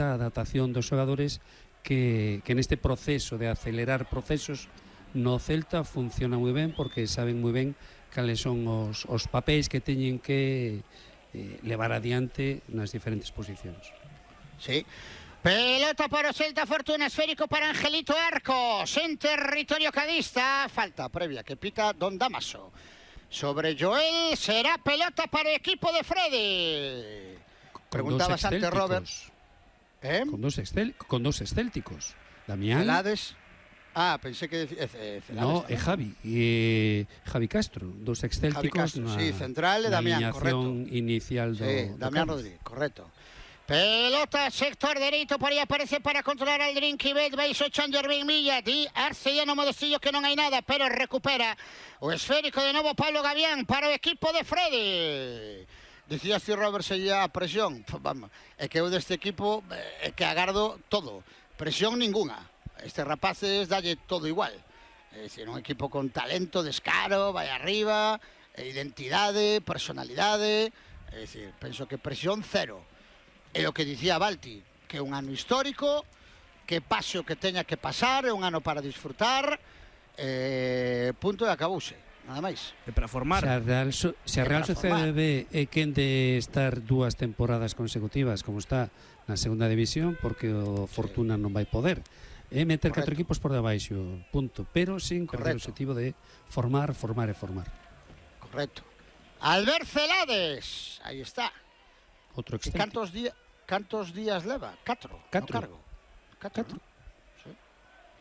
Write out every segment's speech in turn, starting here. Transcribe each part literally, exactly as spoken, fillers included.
moita adaptación dos xogadores que, que neste proceso de acelerar procesos no Celta funciona moi ben, porque saben moi ben cales son os, os papéis que teñen que eh, levar adiante nas diferentes posicións. Sí. Pelota para o Celta, Fortuna, esférico para Angelito Arcos, en territorio cadista, falta previa que pita Don Damaso. Sobre Joel, será pelota para o equipo de Freddy. Preguntabas antes, Robert. ¿Eh? Con dos excel, con dos excélticos. Damián. Celades. Ah, pensé que decía eh, Celades. No, é Javi, e Javi Castro, dos excélticos. Javi Castro, sí, central e Damián, correcto. Inicial do, sí, do Damián Rodríguez, correcto. Pelota, sector dereito, por aí aparece para controlar al Drinkibet, baixo Changer Ben Milla, di Arcediano Modestillo que non hai nada, pero recupera o esférico de novo Pablo Gavián para o equipo de Freddy. Dicías ti, Robert, se a presión, vamos, é que eu deste equipo é que agardo todo, presión ninguna, estes rapaces dalle todo igual, é dicir, un equipo con talento, descaro, vai arriba, identidade, personalidade, é dicir, penso que presión cero. É o que dicía Balti, que é un ano histórico, que pase o que teña que pasar, é un ano para disfrutar, eh, punto e acabouse, nada máis. E para formar. Se a Real, so, se a Real Sociedade B é quen de estar dúas temporadas consecutivas, como está na segunda división, porque o Fortuna sí. non vai poder, é meter Correcto. catro equipos por debaixo, punto, pero sin perder o objetivo de formar, formar e formar. Correcto. Albert Celades, aí está. Outro excelente. Cantos, día, cantos días leva? Catro, Catro. No cargo. Catro, Catro. ¿No? Sí.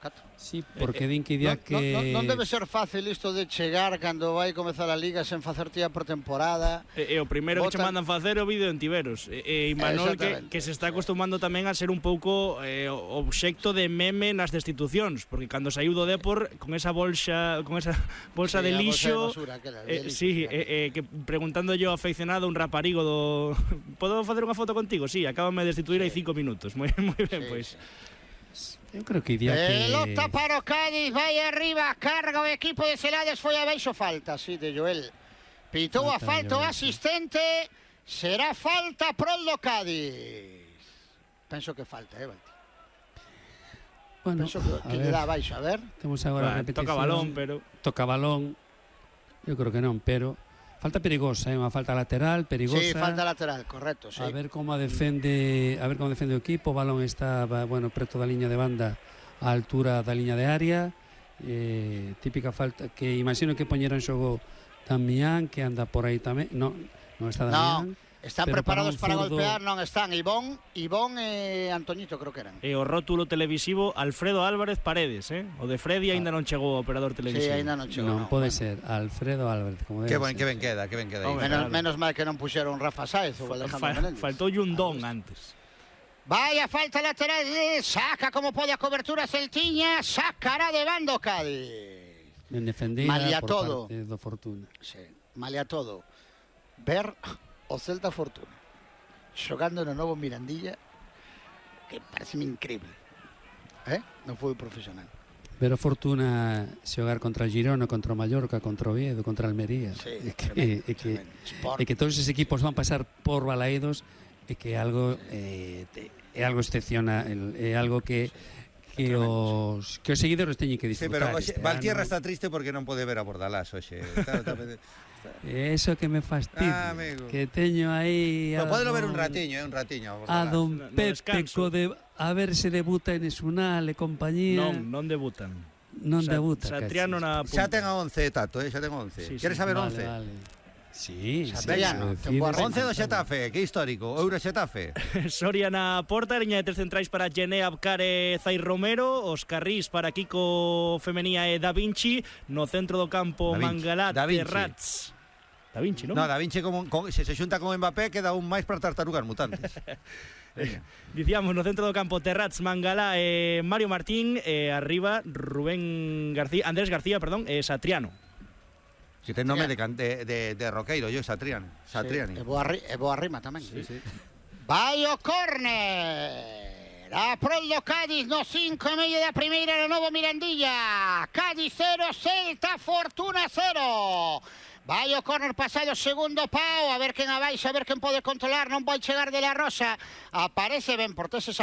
Catro. Sí, porque din que día no, que... Non no, no debe ser fácil isto de chegar cando vai comezar a Liga sen facer tía por temporada. E, e o primeiro Botan... que che mandan facer o vídeo en Tiberos. E, e Imanol que, que se está acostumando tamén a ser un pouco eh, obxecto de meme nas destitucións, porque cando saiu do Depor con esa bolsa con esa bolsa sí, de lixo, bolsa de basura, aquela, eh, de lixo sí, eh, eh, que preguntando yo aficionado un raparigo do podo facer unha foto contigo? Sí, acábame de destituir sí. hai cinco minutos. Moi moi ben, sí, pois. Sí. Eu creo que iría que... Pelota para o Cádiz, vai arriba, carga o equipo de Celades, foi abaixo, falta, sí, de Joel. Pitou a falta o asistente, será falta prol do Cádiz. Penso que falta, eh, Balti. Bueno, Penso que, que le dá abaixo, a ver. Temos agora a repetición. Toca balón, pero... Toca balón, eu creo que non, pero... Falta perigosa, é eh? unha falta lateral, perigosa. Sí, falta lateral, correcto, sí. A ver como a defende, a ver como defende o equipo, o balón está, bueno, preto da liña de banda, á altura da liña de área. Eh, típica falta que imagino que poñera en xogo Damián, que anda por aí tamén. No, non está Damián. No. Están preparados para, para golpear, non están Ivón, Ivón e Antoñito, creo que eran. E o rótulo televisivo Alfredo Álvarez Paredes, eh? O de Freddy aínda non chegou o operador televisivo. Sí, aínda non chegou. Non, no, pode bueno. ser Alfredo Álvarez, como debe. Que ben, que ben queda, que ben queda. Oh, menos, menos mal que non puxeron Rafa Sáez ou Alejandro Fa, Menéndez. Faltou un don antes. Vaya falta lateral, saca como pode a cobertura Celtiña, sacará de bando Cádiz. Ben defendida Malia por todo. parte do Fortuna. Sí, malia todo. Ver o Celta Fortuna xogando no novo Mirandilla, que pareceme increíble, eh? Non foi profesional. Ver o Fortuna xogar contra o Girona, contra o Mallorca, contra o Oviedo, contra a Almería. Sí, é que, tremendo, é que, é que todos esos equipos van pasar por Balaídos, é que é algo eh, é algo excepcional, é algo que que os, que os seguidores teñen que disfrutar. Sí, pero Valtierra está triste porque non pode ver a Bordalás hoxe. Está, está, está... Eso que me fastidia, ah, que teño aí a podelo ver un ratiño, eh, un ratiño a don no, Pepe co de, a ver se debuta en Esunal e compañía. Non, non debutan. Non Sa debuta. Satriano na punta. Xa ten a once, Tato, eh, xa ten once. Sí, Queres sí, saber vale, once? Vale. Sí, Satriano, sí, once do Xetafe, que histórico, Euro Xetafe. Soria na porta, liña de tres centrais para Gené, Abkar e Zai Romero, os carrís para Kiko Femenía e Da Vinci, no centro do campo Mangalá, Terrats. Da Vinci, non? No, Da Vinci como, con, se se xunta con Mbappé queda un máis para tartarugas mutantes. Dicíamos no centro do campo Terrats, Mangalá e Mario Martín, e arriba Rubén García, Andrés García, perdón, e Satriano. Que ten nome de, de, de, de Roqueiro, yo, Satriano. Satriani. Sí, e, boa, e boa rima tamén. Sí, sí. Vai o córner. A prol do Cádiz no cinco e medio da primeira no novo Mirandilla. Cádiz cero, Celta Fortuna cero. Vai o córner pasado segundo pau, a ver quen abaixa, a ver quen pode controlar, non vai chegar de la Rosa. Aparece Ben Portés esa